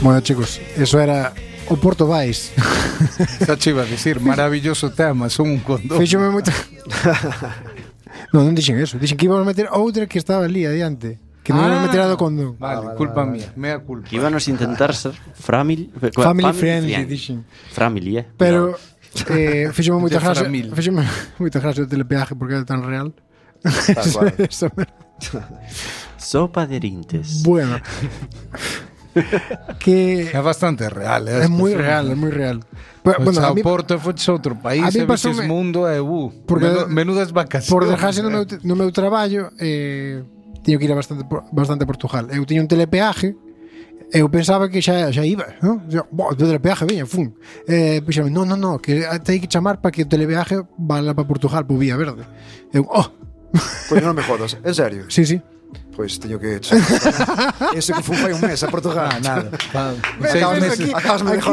Bueno, chicos, eso era o Porto Vais. Xa che iba a decir, maravilloso tema, son un condón. Fíxome moito. Non dixen eso, dixen que íbamos a meter outra que estaba ali adiante. Que non íbamos a meter a do condón. Vale, culpa mía, mea culpa. Que íbamos a intentar ser family friendly, dixen. Family, Pero fíxome moita gracia. Fíxome moita gracia o telepeaje porque era tan real. Sopa de erintes. Bueno. Que é bastante real, é moi real, é moi real. Bueno, a Porto foi outro país, e viches mundo e menudas vacacións. Por desgracia no meu traballo teño que ir a bastante a Portugal. Eu tiña un telepeaje. Eu pensaba que xa iba, non? O telepeaje viña, fun. Pensaba, no, que hai que chamar para que o telepeaje vá para Portugal, por Vía Verde. Eu, Pois non me jodas, en serio? Sí. Pois teño que ese que fun fai un mes a Portugal. Nada. Aquí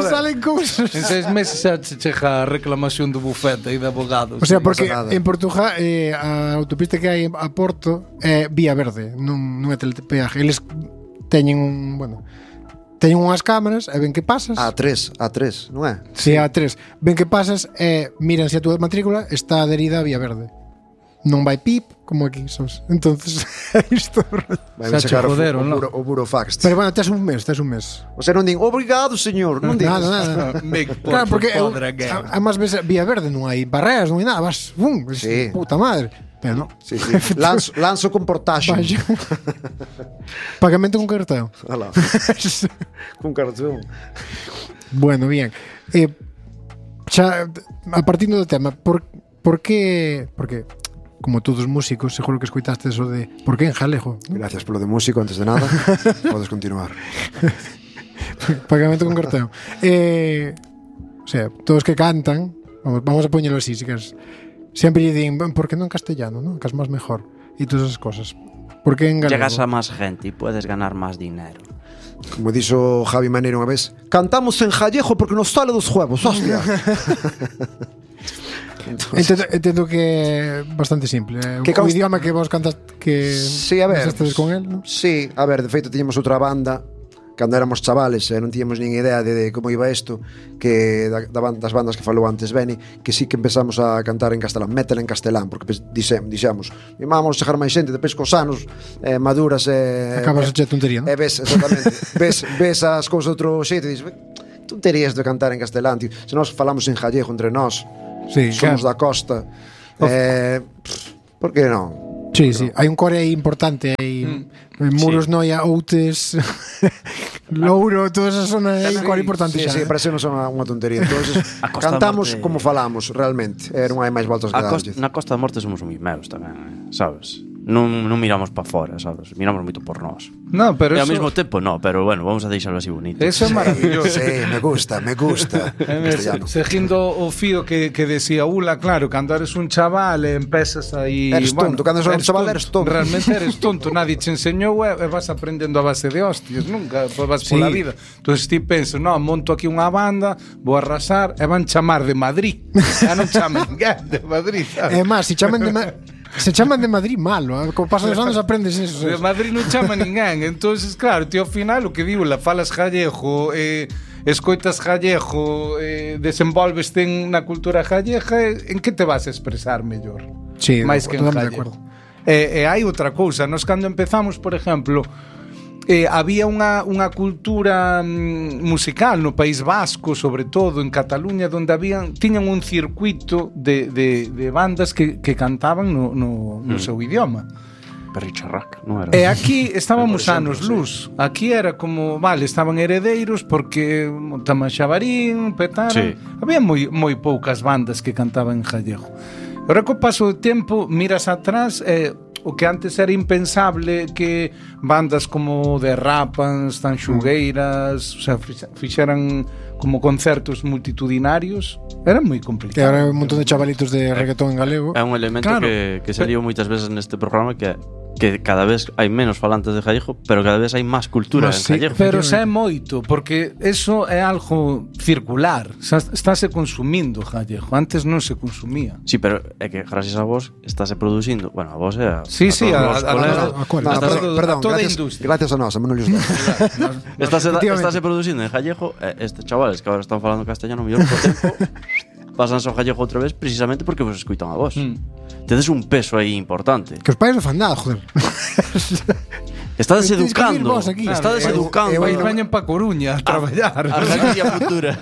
salen cousas. En 6 meses xa chega a reclamación do bufete e de abogados. O sea, porque en Portugal a autopista que hai a Porto é Vía Verde, non é telepeaje. Eles teñen teñen unhas cámaras e ven que pasas. A3, non é? Si, A3. Ven que pasas e miran se a túa matrícula está adherida a Vía Verde. Non vai pip, como aquí, sabes? Entonces, isto vai chegar o burofax. Pero bueno, tes un mes. O sea, non din, obrigado, señor. Non din nada. Claro, porque además ves Vía Verde, non hai barreras, non hai nada. Vas, puta madre. Pero non. Sí. Lanzo con portaxe. Pagamento con cartón. Alá. Con cartón. Bueno, bien. Xa, a partir do tema, por que... Porque, como todos os músicos, seguro que escoitaste eso de por que en galego. Gracias polo de músico, antes de nada. Podes continuar. Pagamento con cartón. O sea, todos que cantan, vamos a poñelo así, si queres. Sempre lle din, por que non en castellano, non? Que es máis mejor. E todas esas cosas. Por que en galego? Llegas a máis gente e puedes ganar máis dinero. Como dixo Javi Manero unha vez, cantamos en gallego porque nos sale dos huevos, hostia. Entendo que é bastante simple. O idioma que vos cantas que estades con él, non? Sí, a ver, de feito tiñamos outra banda cando éramos chavales e non tiñamos nin idea de como iba isto, que das bandas que falou antes Beni, que sí que empezamos a cantar en castelán, metal en castelán, porque dixemos, vamos chegar máis xente, depois cos anos maduras acabas a che tontería, non? Ves, exactamente, ves as cousas de outro xeito e dices, tonterías de cantar en castelán, tío. Se nós falamos en gallego entre nós, somos da costa, por que non? Sí, hai un core aí importante aí, Muros, Noia, Outes, Louro, toda esa zona aí, un core importante xa. Sí, parece non son unha tontería. Entonces, cantamos como falamos, realmente. Non hai máis voltas que darlle. Na Costa da Morte somos moi meus tamén, sabes? Non miramos para fora, sabes? Miramos moito por nós. No, pero e ao mesmo tempo, no, pero bueno, vamos a deixarlo así bonito. Eso é maravilloso. Sí, me gusta. Seguindo o fío que decía Ula, claro, cando eres un chaval e empezas aí... Eres tonto, cando eres un chaval eres tonto. Realmente eres tonto, nadie te enseñou e vas aprendendo a base de hostias, nunca vas pola vida. Entón, ti pensas, monto aquí unha banda, vou arrasar, e van chamar de Madrid. Ya non chaman de Madrid, sabes? É máis, se chaman de Madrid malo, como pasan os anos aprendes eso. De Madrid non chama ninguén. Entonces, claro, tío, ao final o que digo, falas gallego, escoitas gallego, desenvolveste na cultura gallega, en que te vas a expresar mellor? Sí, máis que en gallego. E hai outra cousa, nós cando empezamos, por exemplo, había unha cultura musical no País Vasco, sobre todo en Cataluña, donde tiñan un circuito de bandas que cantaban no seu idioma. Perricharrac, non era? E aquí estábamos anos luz. Aquí era como, estaban Heredeiros porque Tamaxabarín, Petara. Sí. Había moi poucas bandas que cantaban en gallego. Ahora, co paso do tempo, miras atrás o que antes era impensable, que bandas como de Rapans, Tanxugueiras, o sea, fixeran como concertos multitudinarios, era moi complicado. E agora un montón de chavalitos de reggaetón en galego. É un elemento que saliu moitas veces neste programa, que que cada vez hai menos falantes de gallego, pero cada vez hai máis cultura en gallego. Pero xa é moito, porque eso é algo circular. Estáse consumindo gallego. Antes non se consumía. Sí, pero é que gracias a vos estáse producindo. Bueno, a vos é a toda a industria. Gracias a nós, a Manolios Dob. Estáse producindo en gallego. Estes chavales que agora están falando castellano mellor por tempo pasan ao gallego outra vez precisamente porque vos escuitan a vos. Tedes un peso aí importante. Que os pais non fan nada, joder. Estades educando. Estades educando. Veñen pa Coruña a traballar. A Galicia futura.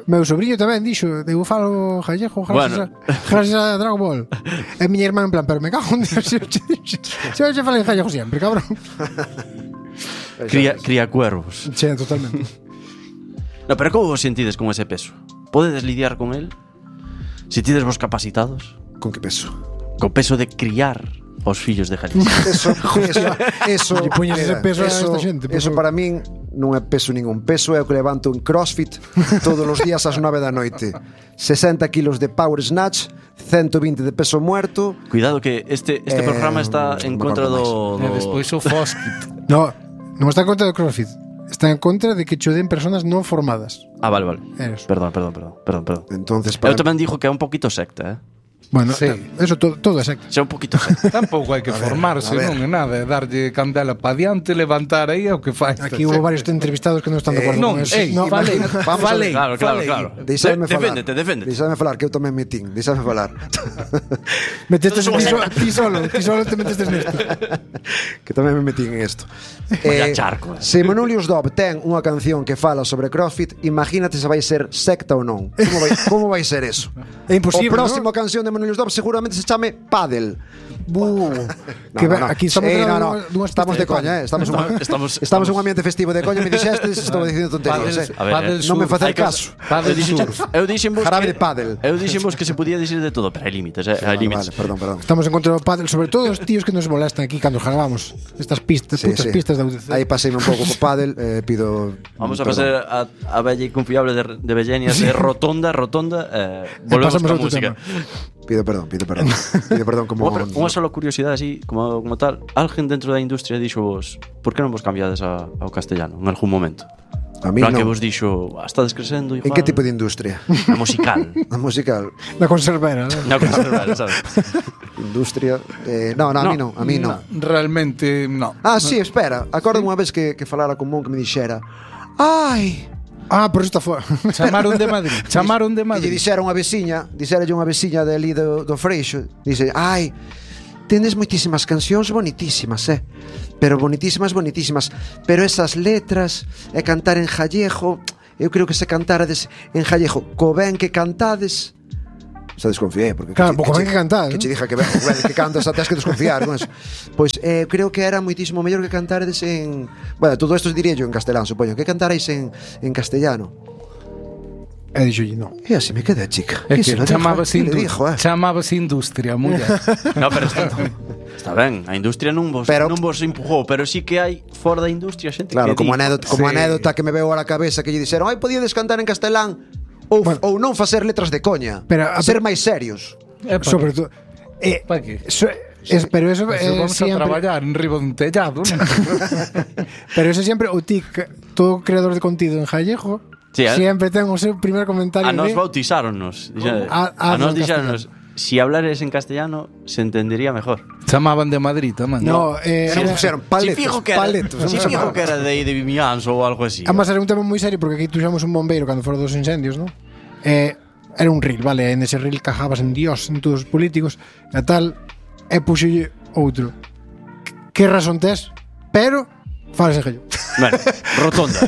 Meu sobrinho tamén dixo, eu falo gallego gracias a Dragon Ball. E miña irmá en plan, pero me cago en Dios. Xa falei gallego sempre, cabrón. Cría cuervos. Che, totalmente. No, pero como vos sentides con ese peso? Podedes lidiar con él? Sentides vos capacitados? Con que peso? Co peso de criar os fillos de Galicia. Eso Eso para min non é peso ningún. Peso é o que levanto en CrossFit todos os días ás 9 da noite. 60 kilos de power snatch, 120 de peso muerto. Cuidado que este programa está en contra do... Despois o Foskit. Non está en contra do CrossFit. Está en contra de que cho den personas non formadas. Ah, vale. Perdón. Entonces, eu tamén dixo que é un poquito secta, Bueno, sí. Eso todo é secta. Xa un poquito secta. Tampouco hai que formarse, non é nada, é darlle candela pa diante, levantar aí é o que fai. Aquí hubo varios entrevistados que non están de acordo con eso. Falei. Claro. Deixadme falar. Deféndete. Deixadme falar, que eu tamén metín. Deixadme falar. Metestes ti solo te metestes nesto. Que tamén me metín en isto. Charco. Se Manolios Dob ten unha canción que fala sobre CrossFit, imagínate se vai ser secta ou non. Como vai ser eso? É imposible. O próximo canción de Manolios Dob seguramente se chame Paddle. Aquí estamos de coña, estamos en un ambiente festivo de coña. Me dixestes, estou dicindo tonterías. Non me facer caso. Eu dixenvos jarabe de paddle. Eu dixenvos que se podía dicir de todo, pero hai límites, hai límites. Perdón. Estamos en contra do paddle, sobre todo os tíos que nos molestan aquí cando grabamos estas pistas, putas pistas da UDC. Aí paseime un pouco co paddle, pido. Vamos a pasar a bella e confiable de Bellenias de Rotonda, volvemos con música. Pido perdón como unha sola curiosidade así como tal. Alguén dentro da industria dixo vos, por que non vos cambiades ao castellano en algún momento? A mí non. Que vos dixo, estades crecendo igual. En que tipo de industria? A musical. A musical. Na conservera, ¿no? Na conservera, sabes? Industria, no, a mí non. Realmente non. Ah, sí, espera. Acordo unha vez que falara con Mon que me dixera: "Ai, por isto foi. Chamaron de Madrid. E lle dixera unha veciña de ali do Freixo, dice: "Ai, tendes moitísimas cancións bonitísimas, pero bonitísimas, pero esas letras e cantar en gallego, eu creo que se cantarades en gallego co ben que cantades." Xa desconfié, porque claro, pouco ben que cantades. Que che dija que ben que cantas, até has que desconfiar con eso. Pois creo que era moitísimo mellor que cantaredes en... Bueno, todo isto diría yo en castelán, supoño. Que cantarais en castellano. E dixo, non. E así me quedé, chica. É que chamabas industria, muller. No, pero está ben, a industria non vos empujou, pero sí que hai fora da industria xente que... Claro, como anécdota que me veo a la cabeza, que lle dixeron: "Ai, podíades cantar en castelán ou non facer letras de coña, ser máis serios." Sobre todo pero eso vamos a traballar en riba dun tellado, ¿no? Pero eso sempre o todo creador de contido en gallego siempre ten o seu primer comentario. A nos bautizáronnos. A nos dixeronnos: si hablares en castellano se entendería mejor. Chamaban de Madrid tamén. No, pusieron paletos. Si fijo que era de Vimianzo ou algo así. Además era un tema moi serio, porque aquí tuxamos un bombeiro cando foron dos incendios, ¿no? Era un reel, vale, en ese reel cajabas en Dios, en todos os políticos e tal, e puxolle outro. Que razón tes? Pero falas en gallo. Bueno,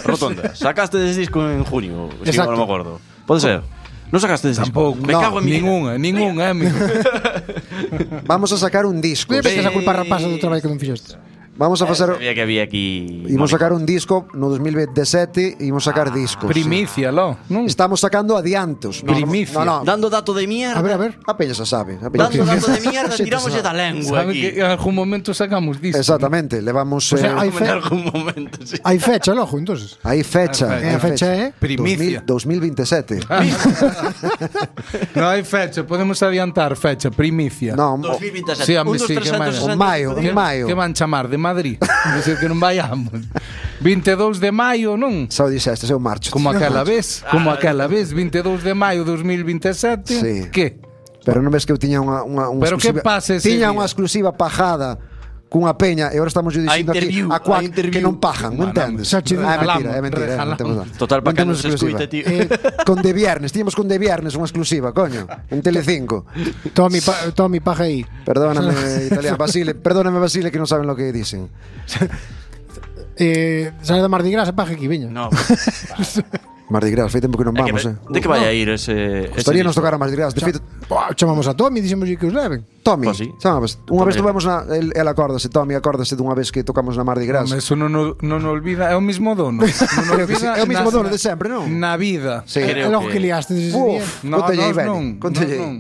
Rotonda. Sacaste ese disco en junio, si non me acordo. Pode ser. Non sacaste ese disco? Me cago en ninguna. Vamos a sacar un disco. Ves a culpa rapaza do traballo que non fixeste. Vamos a facer... Sabía que había aquí... Imos sacar un disco no 2017, imos sacar discos. Primicia, lo, non? Estamos sacando adiantos. Primicia. No. Dando dato de mierda. A ver. A peña se sabe. A peña Dando dato de mierda, Sí, tiramos se da lengua Sabe aquí. que en algún momento sacamos disco. Exactamente, levamos... Hai En algún momento, sí. hai fecha, logo, entonces. Hai fecha. Hai A fecha é Primicia. 2027. Non hai fecha, podemos adiantar fecha, primicia. Non, 2027. Sí, home, Un dos sí, que 360 en maio, días. en maio. Que van chamar de Madrid. Dice que non vayamos. 22 de maio, non? xa o dixeste, eu marcho. Como aquela vez, 22 de maio 2027. Sí. Que? Pero non ves que eu tiña unha Pero que exclusiva. pasa ese Tiña día? unha exclusiva pajada cunha peña e agora estamos yo dicindo aquí interview, a cuac a interview. que non pajan, non entendes? xa che É mentira, é regalamos, mentira, non temos regalamos. nada. Total, para que Non non temos se exclusiva. escuite, tío. Con De Viernes, tiñamos con De Viernes unha exclusiva, coño, en Telecinco. Tommy paja aí. Perdóname, italiano, perdóname Basile que non saben lo que dicen. Sale da Mardi Gras, paja aquí, veña. No. Mardi Gras, fai tempo que non vamos, De que vai a ir ese... Gustaría nos tocar a Mardi Gras. De feito, Chamamos a Tommy, dixemos que os leven. Tommy, Pues sí. chamabas. Unha vez Tommy. tuvemos el acórdase, Tommy, acórdase dunha vez que tocamos na Mardi Gras. Eso non olvida, é o mismo dono. Non Creo que sí, é o mismo dono de sempre, non? Na vida. Sí. Creo E logo que- que liaste ese día. Uf, No, contelle aí, nós Beni, non. contelle aí. Non.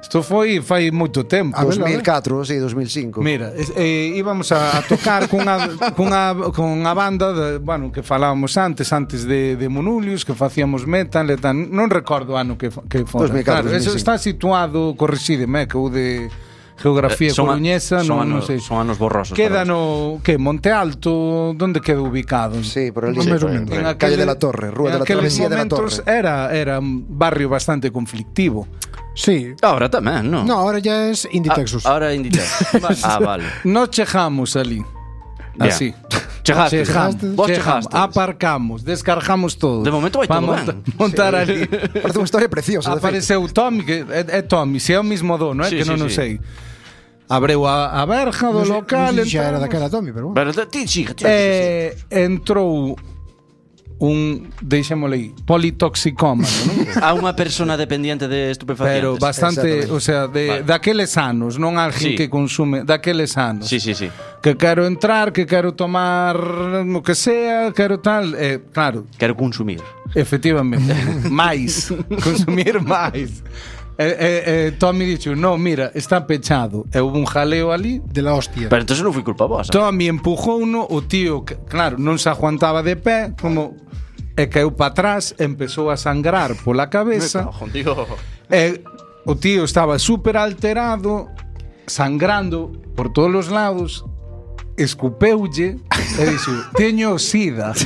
Isto foi fai moito tempo. A ver, 2004, sí, 2005. Mira, íbamos a tocar cunha banda bueno, que falábamos antes de Monulius, que facíamos metal e tal. Non recordo o ano que fora. 2004, Claro, eso 2005. está situado, corrixídeme, que o de Geografía coruñesa, non sei. Son anos borrosos. Queda para no que Monte Alto, onde queda ubicado? Sí, por ali. Máis Sí, ou menos. En Calle de la Torre, Rúa de la Travesía de la momentos Torre. era un barrio bastante conflictivo. Sí. Ahora tamén, non? No, ahora ya es Indie Texas. Ahora Inditex. Vale. Nos chegamos ali. Bien. Así. Chegaste. Vos Chegamos, chegaste. aparcamos, descargamos todo. De momento vai Pa todo ben. montar ali. Parece unha historia preciosa, de feito. Apareceu Tommy, que é Tommy, se é o mismo dono, Sí, que sí, non o sí. sei. Abreu a verja do local, Non sei se xa era entramos, daquela Tommy, pero bueno. Pero ti, chica, entrou deixémosle aí, politoxicómano, non? a unha persona dependiente de estupefacientes. Pero bastante, Exactamente. o sea, Vale. daqueles anos, non alguén Sí. que consume, daqueles anos. Sí. Que quero entrar, que quero tomar o que sea, quero tal, claro, Quero consumir. efectivamente, máis, consumir máis. Tommy dixo, no, mira, está pechado. E houve un jaleo ali. De la hostia. Pero entonces non foi culpa vosa. Tommy empujou uno, o tío, claro, non se aguantaba de pé, como e caeu para atrás, empezou a sangrar pola cabeza. E o tío estaba súper alterado, sangrando por todos os lados, escupeulle e dixo, teño sida.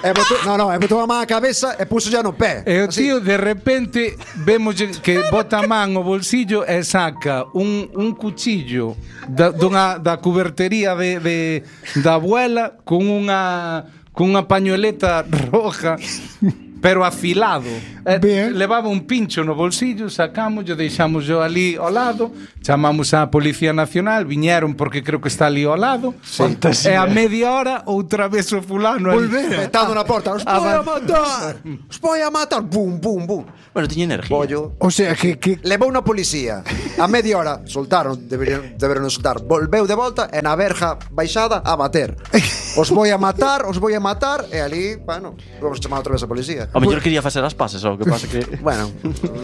E botou a man a cabeza e puso ya no pé. E o Así. tío de repente vemos que bota a man o bolsillo e saca un cuchillo da cubertería da abuela con unha pañueleta roja pero afilado. Bien. Levaba un pincho no bolsillo, sacamos, deixamos yo ali ao lado, chamamos a Policía Nacional, viñeron porque creo que está ali ao lado. E a media hora outra vez o fulano ali. Petado na porta. Os voy a matar. Os voy a matar. Bum, bum, bum. Bueno, tiña energía. Pollo. O sea, que Levou unha policía. A media hora soltaron, deberon soltar. Volveu de volta e na verja baixada a bater. Os voy a matar, e ali, bueno, vamos chamar outra vez a policía. O mellor quería facer as pases, o que pasa que... Bueno,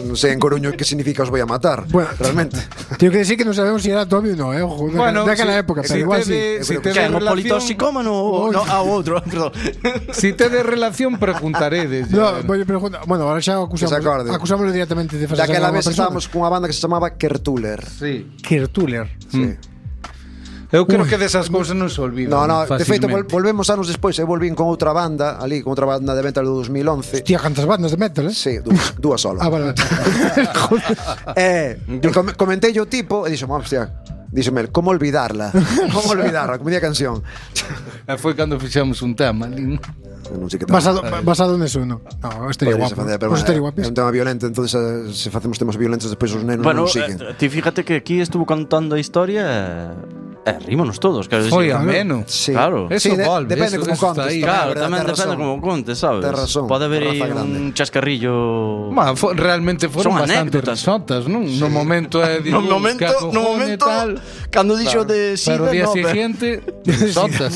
non sei en Coruño que significa os voy a matar. Bueno. Realmente. tengo que decir que non sabemos se era Tommy ou non, ojo, daquela época, pero igual sí. Si te Que de é un relación, politoxicómano ou no, a outro, perdón. si te de relación preguntaredes. No, voy a preguntar. Bueno, ahora xa Que se acorde. acusámoslo directamente de facer Daquela unha vez persona. estábamos cunha banda que se chamaba Kertuler. Sí. Kertuler. Sí. Eu creo que desas cousas non se olvidan. No, de feito fácilmente. volvemos anos despois, eu volvín con outra banda, ali con outra banda de metal do 2011. Hostia, cantas bandas de metal, eh? Sí, dúas solo. Ah, vale. E comentei o tipo e dixo, hostia, díxome, como olvidarla? Como olvidarla? Como di a canción. E foi cando fixemos un tema ali. Non sei que tal. Basado neso, no. No, estaría Poderíase guapo. facer, pero Pues estaría é guapísimo. un tema violento, entonces se facemos temas violentos despois os nenos Bueno, non siguen. ti fíjate que aquí estuvo contando a historia rímonos todos, quero dicir. Foi ameno. Sí. Claro. Eso volve, depende como eso contes. está aí. Claro, verdad, tamén tes depende razón. como contes, sabes? Tes razón, Pode haber aí raza grande. un chascarrillo. Realmente foron Son bastante anécdotas. risotas, non? No momento é No momento, cando dixo de Pero sida, o día no, siguiente, risotas.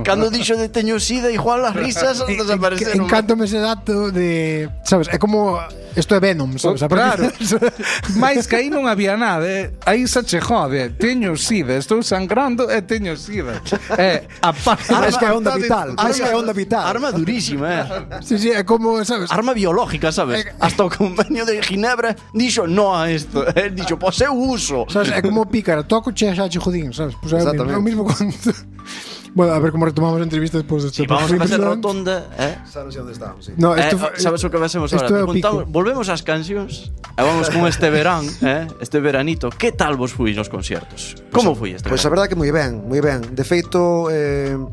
cando dixo de teño sida, igual as risas desapareceron. Encántome ese dato de, sabes, é como isto é Venom, sabes? Claro. Mais que aí non había nada, aí se che jode, teño sida, estou sangrando e teño sida. A parte Es que é onda vital. Es que é onda vital. Arma durísima, Sí, é como, sabes? Arma biológica, sabes? Hasta o convenio de Ginebra dixo no a isto. Dixo, pois eu uso. Sabes, é como pícara, toco che xa che jodín, sabes? Pues é Exactamente. o mismo conto. Bueno, a ver como retomamos a entrevista despois deste. Si vamos a facer rotonda, Xa non sei onde estamos, sí. No, esto sabes o que facemos isto agora? é o pico. Volvemos ás cancións e vamos con este verán, este veranito. Que tal vos fui nos conciertos? Como foi este Pois a verán? verdade que moi ben, moi ben. De feito,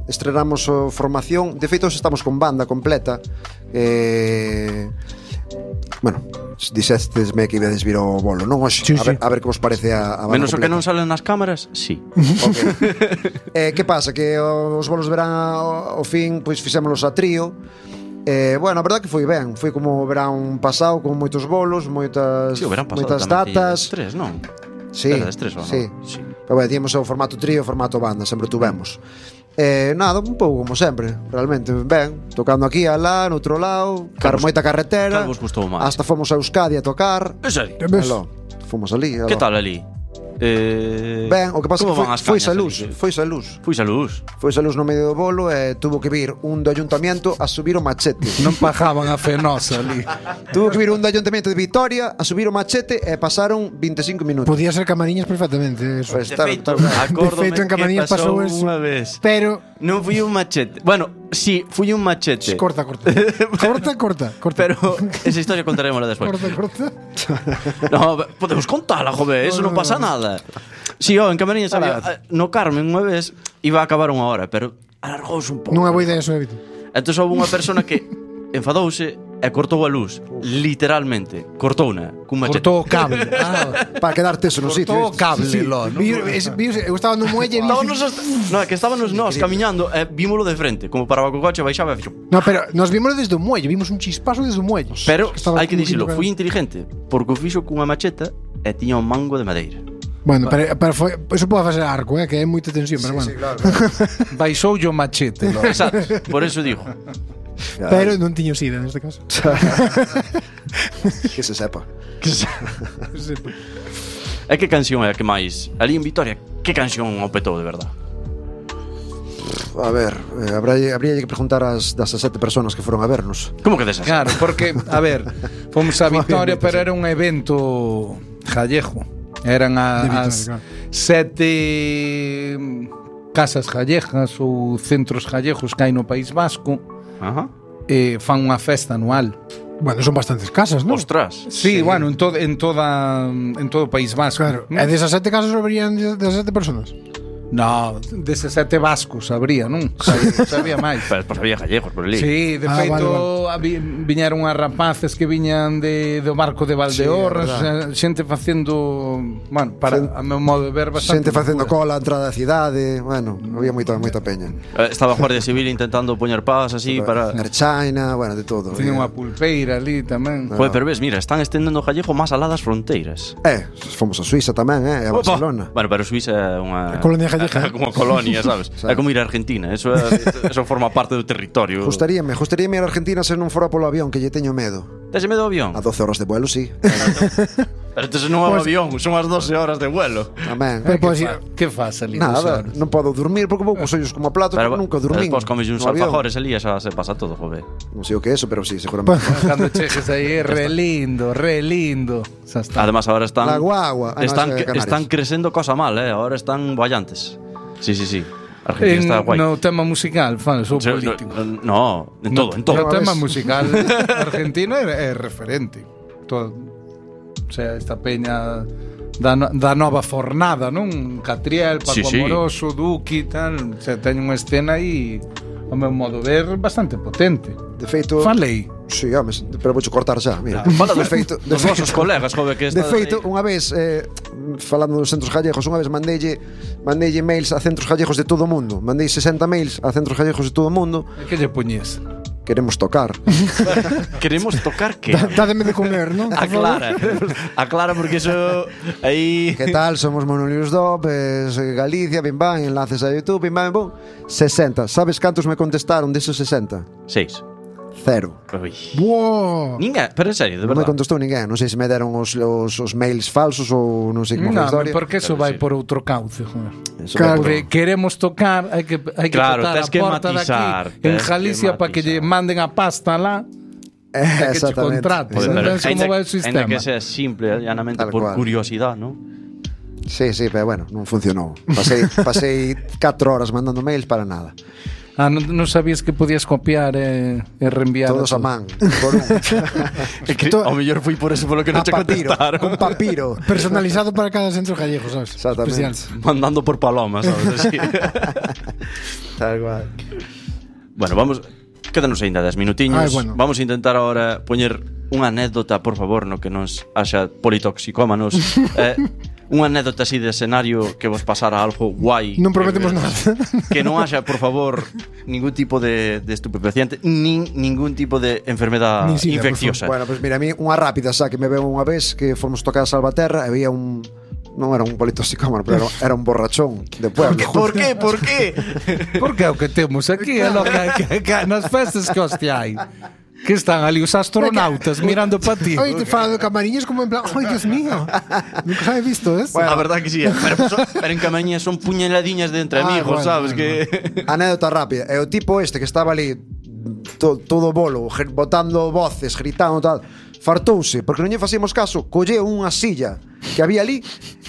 estrenamos a formación. De feito, estamos con banda completa. Bueno, dixestesme que ibades vir ao bolo, non hoxe? Sí, a ver que vos parece a banda Menos o que completa. non salen nas cámaras, sí. Okay. Que pasa? Que os bolos de verán ao fin, pois fixémolos a trío. Bueno, a verdade que foi ben. Foi como o verán pasado, con moitos bolos, moitas Sí, o verán pasado moitas tamén datas. Tres, non? Sí, Era das tres, ou non? sí. Sí. Pero bueno, tíamos o formato trío, o formato banda, sempre tuvemos. Nada, un pouco como sempre, realmente ben, tocando aquí, alá, no outro lado, moita carretera. cal vos gustou máis? Hasta fomos a Euskadi a tocar. En serio? ves? Aló, fomos ali. Aló. Que tal ali? Ben, o que pasa Como que van as foi cañas a luz, ali? foi a luz. Fuis a luz. Foi a luz no medio do bolo e tuvo que vir un do ayuntamiento a subir o machete. non pajaban a fenosa ali. Tuvo que vir un do ayuntamiento de Vitoria a subir o machete e pasaron 25 minutos. Podía ser Camariñas perfectamente eso. Pues, De claro, feito, claro. acórdome De feito, en que Camariñas pasou pasou eso. unha vez. Pero Non fui un machete. Bueno, sí, fui un machete. corta. Corta. Pero esa historia contaremosla despois. Corta. No, podemos contala, joder, eso non pasa nada. Si, en Camariñas había, no Carmen unha vez iba a acabar unha hora, pero alargouse un pouco. Non é boa idea eso, Evito. Entón houve unha persona que enfadouse e cortou a luz, literalmente, cortouna cun machete. Cortou o cable. Para quedar teso no sitio. Cortou o cable, lo, non? Eu estaba no muelle e Estábamos no, é que estábamos nós camiñando e vímolo de frente, como para o coche baixaba e fixo. No, pero nos vimos desde o muelle, vimos un chispazo desde o muelle. Pero Estaba hai que como dicilo, quinto fui inteligente, porque o fixo cunha macheta e tiña un mango de madeira. Bueno, pero foi, eso pode facer arco, que é moita tensión, pero bueno. Sí, claro. Baixoulle o machete, lo. Exacto, por eso digo. Pero non tiño sida neste caso. Que se sepa. E que canción é a que máis? Ali en Vitoria, que canción o petou de verdad? A ver, habría que preguntar das 7 personas que foron a vernos. Como que desas? Claro, porque, a ver, fomos a Vitoria, pero era un evento gallego. Eran as 7 casas gallegas ou centros gallegos que hai no País Vasco. Ajá. E fan unha festa anual. Bueno, son bastantes casas, non? Ostras. Sí, bueno, en todo o País Vasco. Claro. E desas 7 casas habrían desas 7 personas? No, deses 7 vascos habría, non? Sabía máis. Pues había gallegos por ali. Sí, de feito viñeron as rapaces que viñan do barco de Valdeorras, xente facendo, bueno, para a meu modo de ver bastante. Xente facendo cola a entrada da cidade, bueno, había moita peña. Estaba a Guardia Civil intentando poñer pás así para... Erchaina, bueno, de todo. Tiña unha pulpeira ali tamén. Joder, pero ves, mira, están estendendo o gallego máis alá das fronteiras. Fomos a Suiza tamén, e a Barcelona. Bueno, pero Suiza é unha... Colonia gallega. Como colonia, sabes? É como ir a Argentina, eso forma parte do territorio. Gustaríame ir a Argentina se non fora polo avión, que lle teño medo. Tese medo ao avión? A 12 horas de vuelo, sí. Pero entonces non é un avión, son as 12 horas de vuelo. Amén. Que faz ali? Nada, non podo dormir porque vou cos ollos como a plato, pero nunca dormín. Despois comes uns alfajores ali e xa se pasa todo, joder. Non sei o que é eso, pero sí, seguramente. Cando cheques aí, re lindo. Xa está. Además, ahora están... La guagua. Están crecendo cosa mal, ahora están boallantes. Sí. Argentina está guai. No tema musical, fans ou político. No, en todo. No tema musical, Argentina é referente. Todo, o sea, esta peña da nova fornada, non? Catriel, Paco Amoroso, Duki, tal. O sea, teñen unha escena aí, ao meu modo de ver, bastante potente. De feito... Falei. Sí, home, pero voucho cortar xa, mira. Fala dos vosos colegas, jove, que De estás feito, unha vez falando dos centros gallegos, unha vez mandeille mails a centros gallegos de todo o mundo. Mandei 60 mails a centros gallegos de todo o mundo. E que lle poñías? Queremos tocar. Queremos tocar que? Dádeme de comer, non? Aclara porque eso aí Que tal? Somos Monolius Dopes, Galicia, bim bam, enlaces a YouTube, bim bam, bum. 60. Sabes cantos me contestaron desos 60? 6. 0. Buah. Ninguén, pero en serio, de Non me verdade. contestou ninguén. Non sei se me deron os mails falsos ou non sei como foi a Non, historia. porque eso vai por outro cauce, joder. Eso Claro. vai por- Queremos tocar, hai que Claro, tocar tes a que porta matizar, daqui en tes que Galicia para que lle matizar. manden a pasta lá que che Exactamente. contraten. Joder, Sabes pero como vai o ainda sistema. que sea simple, llanamente Tal por cual. curiosidade, ¿no? Sí, pero bueno, non funcionou. Pasei 4 horas mandando mails para nada. Non sabías que podías copiar e reenviar Todos a man, por un. Ao mellor foi por eso polo que non A che papiro, contestaron. con papiro. Personalizado para cada centro gallego, sabes? Exactamente. Especial. Mandando por palomas, sabes? Así. Tal cual. Bueno, vamos. Quédanos ainda 10 minutiños. Ai, bueno. Vamos a intentar ahora poñer unha anécdota, por favor, no que nos haxa politoxicómanos. Unha anécdota así de escenario que vos pasara algo guai. Non prometemos nada. Que non haxa, por favor, ningún tipo de estupefaciente, ningún tipo de enfermedad Nin sida, infecciosa. Bueno, pues mira, a mí unha rápida, xa que me veo unha vez que fomos tocar a Salvaterra e había un non era un politoxicómano, pero era un borrachón de pueblo. Por qué? Por qué? Porque é o que temos aquí, é lo que nas festas que hostia hai. Que están ali os astronautas mirando para ti. Oye, te fala do Camariñas como en plan, ¡ay, Dios mío! Nunca he visto eso. Bueno, a verdad que sí, pero en Camañas son puñaladiñas de entre amigos, bueno, sabes? bueno. Que Anécdota rápida. E o tipo este que estaba ali todo bolo, botando voces, gritando tal, fartouse, porque non lle facíamos caso, colleu unha silla que había ali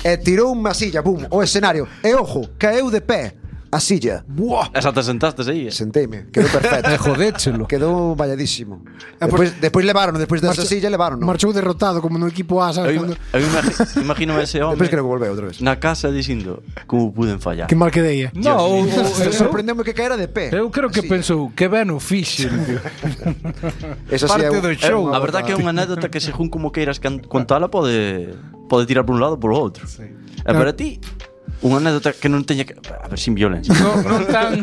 e tirou unha silla, bum, o escenario. E ojo, caeu de pé a silla. Buah. esa te sentaste aí. Senteime, quedou perfecto. Jodéchelo. Quedou valladísimo. pues, Despois levaron, despois desa silla levaron. Marchou derrotado como no equipo A, sabes? Cando... Imagino ese home Despois creo que volveu outra vez. na casa dicindo como puden fallar. Que mal que deia. No, Sorprendeume que caera de pé. eu creo que Así. pensou que ben o fixen, tío. Esa sí parte é do show. A verdad que é unha anécdota que según como queiras contala pode tirar por un lado ou por outro. E para ti unha anécdota que non teña que... A ver, sin violencia. Non tan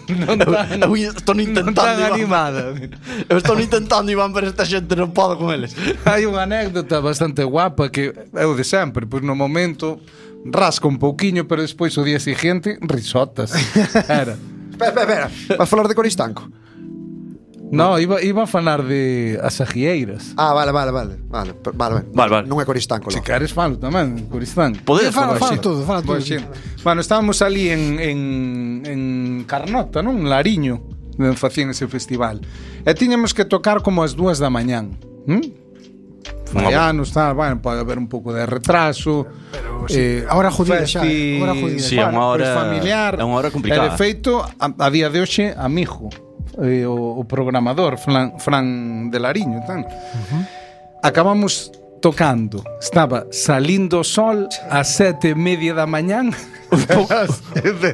Eu estou intentando, non tan Iván. animada. Eu estou intentando, Iván, pero esta xente non pode con eles. Hai unha anécdota bastante guapa que é o de sempre, pois no momento rasca un pouquiño, pero despois o día seguinte risotas. Era. Espera. Vas falar de Coristanco? No, iba a falar de as agieiras. Ah, vale. Vale. Non é Coristanco. Se logo. queres falo tamén, Coristán. Podedes Fala falar todo, fala todo. Pois sí. Bueno, estábamos ali en Carnota, non? En Lariño, onde facían ese festival. E tiñamos que tocar como as 2 da mañán. Fai anos, tal, bueno, pode haber un pouco de retraso. Pero sí, ahora jodida xa, ahora jodida. Sí, é unha hora familiar. é unha hora complicada. E de feito, a día de hoxe, amigo, o programador Fran de Lariño, tan. Acabamos tocando. Estaba salindo o sol ás 7:30 da mañán.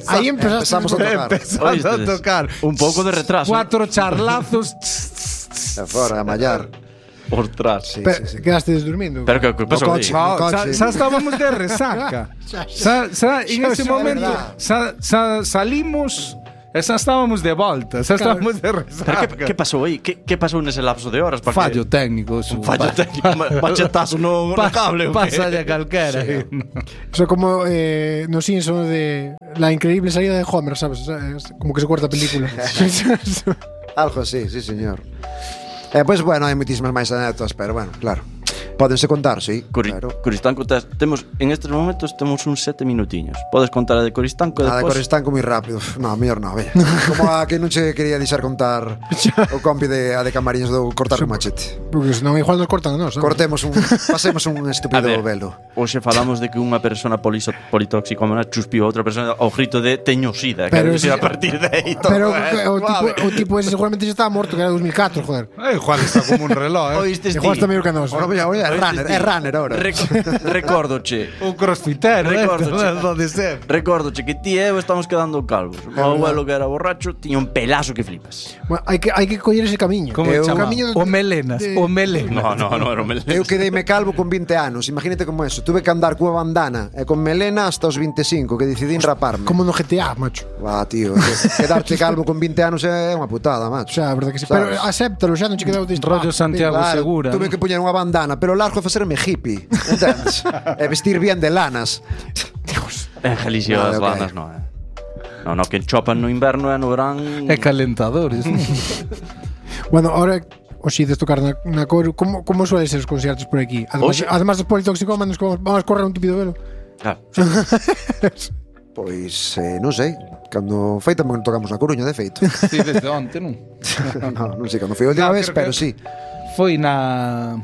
Aí empezamos a tocar. Empezando a tocar. Un pouco de retraso. 4 charlazos. E fora, a mallar. Ostras. Sí. Quedaste desdurmindo. Pero que pasou aí? coche. No, coche. xa estábamos de resaca. En ese momento salimos e xa estábamos de volta. Xa estábamos de resaca. Pero que pasou aí? Que pasou nese lapso de horas? Para Fallo técnico. Un fallo técnico. Machetazo no cable. Pasa de calquera. O sea, como no Simpson de la increíble salida de Homer, ¿sabes? O sea, es como que se corta a película. Algo así, sí, señor. Pois, bueno, hai moitísimas máis anécdotas, pero, bueno, claro. Pódense contar, sí, claro. Coristanco, temos en estes momentos temos uns 7 minutiños. Podes contar a de Coristanco e Nada, despois... Coristanco moi rápido. No, mellor non, vella. Como a que non che quería deixar contar o compi de Camariñas do cortar con machete. Porque senón igual nos cortan a nós, ¿sabes? Pasemos un estúpido velo. Hoxe falamos de que unha persona politóxicomana chuspiu a outra persona ao grito de teño sida. Pero Quero dicir, sí, a partir de aí todo Pero é o tipo ese seguramente xa estaba morto, que era 2004, joder. Igual está como un reloj, Igual Oístes ti? está mellor que a nós. Ora, oye, É runner ahora. Recórdoche. O crossfitero, Recórdoche. pode ser. Recórdoche que ti e eu estamos quedando calvos. O meu abuelo que era borracho tiña un pelazo que flipas. Bueno, hai que coller ese camiño. Como O chamaba? camiño O melenas, o melenas. No, era un melena. Eu quedeime calvo con 20 anos. Imagínate como eso. Tuve que andar cunha bandana e con melena hasta os 25, que decidín raparme. Como no GTA, macho. Tío, quedarte calvo con 20 anos é unha putada, O macho. sea, a verdade que sí. Sabes? Pero acéptalo, xa non che quedou deste Rollo Santiago Segura. Tuve que poñer unha bandana, pero largo e facerme hippie, entendes? E vestir bien de lanas. En Galicia Vale, as ok. bandas no, No, que chopan no inverno e no verán. E calentadores. Bueno, ahora os ides tocar na Coru. Como suelen ser os concertos por aquí? Además dos politoxicómanos, vamos a correr un tupido velo. Claro. Pois, non sei. Cando foi tamén tocamos na Coruña, de feito. Sí, desde onte, non? Non sei cando foi a última No, vez, creo pero que- sí. Foi na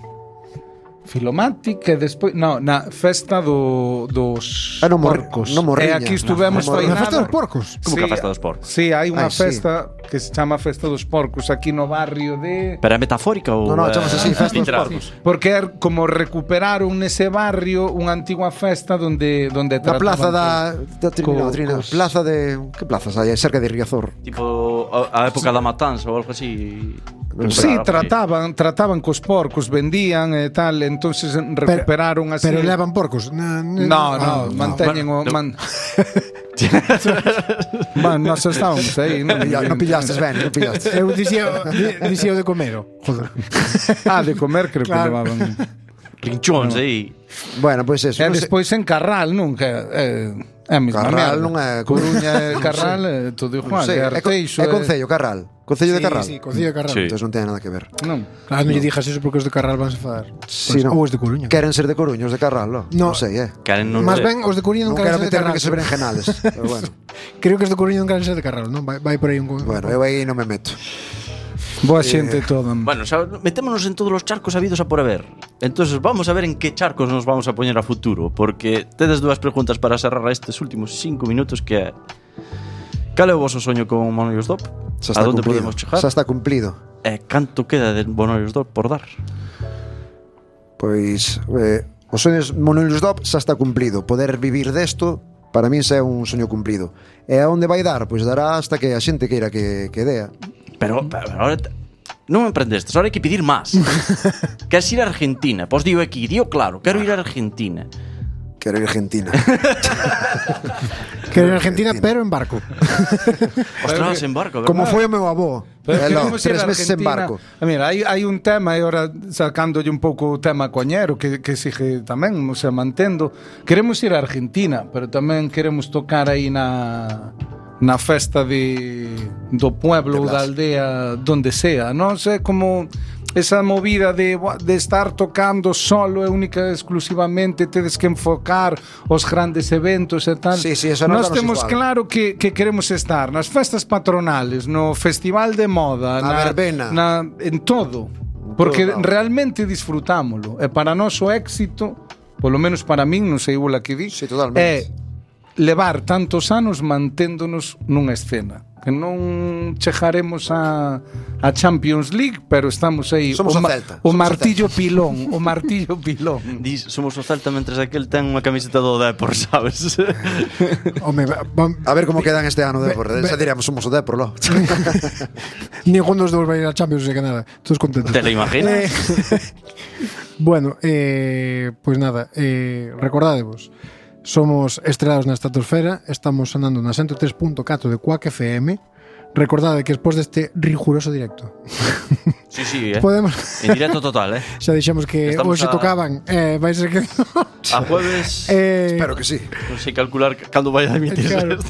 Filomatic e despois na festa dos Ah, no porcos. no Morriña. E aquí estuvemos No, foi Na nada. festa dos porcos. Como que a festa dos porcos? Sí, hai unha Sí. festa que se chama Festa dos Porcos aquí no barrio de Pero é metafórica ou No, chamase así, festa dos literal? porcos. porque é como recuperaron nese barrio unha antigua festa donde Na plaza da co- Trina, plaza de que plazas hai? Cerca de Riazor. Tipo a época da matanza ou algo así. Sí, Recuperar, trataban cos porcos, vendían e tal, entonces recuperaron así. Pero levan porcos. No, manteñen o Bueno, Bueno, nos estábamos aí, non? Non pillastes ben, non pillastes. Eu dicía o de comer. Joder. De comer creo que Claro. levaban. Pinchóns aí. Bueno, pois eso. E non sei- despois en Carral, non? Que é a mesma Carral merda. non é- Coruña e Carral é todo non igual. sei, É é Arteixo. Concello, Carral. Concello de Carral. Sí, Concello de Carral. Sí. Entón non ten nada que ver. Non. Claro, non lle dijas eso porque os de Carral van a enfadar. Sí, no. Ou os de Coruña. Queren ser de Coruña, os de Carral, non? No. Non sei, Queren non Más sé. ben, os de Coruña Non non quero queren ser de meterme Carral. que se berenjenales. Pero bueno, Creo que os de Coruña non queren ser de Carral, non? Vai por aí un... bueno, eu aí non me meto. Boa xente toda. Bueno, xa metémonos en todos os charcos habidos a por haber. Entonces vamos a ver en que charcos nos vamos a poñer a futuro, porque tedes dúas preguntas para cerrar estes últimos 5 minutos, que é: cal é o voso soño con Bonollos Dop? Xa A está onde cumplido. podemos chegar? Xa está cumplido. E canto queda de Bonollos Dop por dar? Pois os soños Monolius Dop xa está cumplido. Poder vivir desto para min xa é un soño cumplido. E a onde vai dar? Pois dará hasta que a xente queira que dea. Pero ahora non me emprendestes, ahora hai que pedir máis. Queres ir a Argentina? Pois digo aquí, digo claro, quero ir a Argentina. Quero ir a Argentina. Que en Argentina, pero en barco. Ostras, en barco, verdad? Como foi o meu avó. Pero Elo, queremos ir 3 a meses en Argentina. barco. Mira, hai un tema, e ahora sacándolle un pouco o tema coñero que sigue tamén, o sea, mantendo. Queremos ir a Argentina, pero tamén queremos tocar aí na festa do pueblo ou da aldea, donde sea, non sei como esa movida de estar tocando solo e única e exclusivamente, tedes que enfocar os grandes eventos e tal. Sí, eso non Nós danos temos igual. claro que queremos estar nas festas patronales, no festival de moda, Na verbena. en todo, porque todo. realmente disfrutámolo. E para nós o éxito, polo menos para min, non sei igual que di, Sí, totalmente. é levar tantos anos manténdonos nunha escena. Que non chegaremos a Champions League, pero estamos aí. Somos o Celta. O Somos o martillo pilón, o martillo pilón. Dis, somos o Celta mentres aquel ten unha camiseta do Depor, sabes? Home, A ver como quedan este ano de Depor. Xa diríamos, somos o Depor, lo. ningún dos dous vai ir a Champions, sei que nada. Todos contentos. Te lo imaginas? Bueno, pues nada, recordádevos, somos estrelados na estratosfera, estamos sonando na 103.4 de Quack FM. Recordade que despois deste riguroso directo Sí, sí, podemos, en directo total, xa dixemos que Estamos hoxe a- tocaban, vai ser que A jueves Espero que sí. non sei calcular cando vai a emitirse Claro. esto.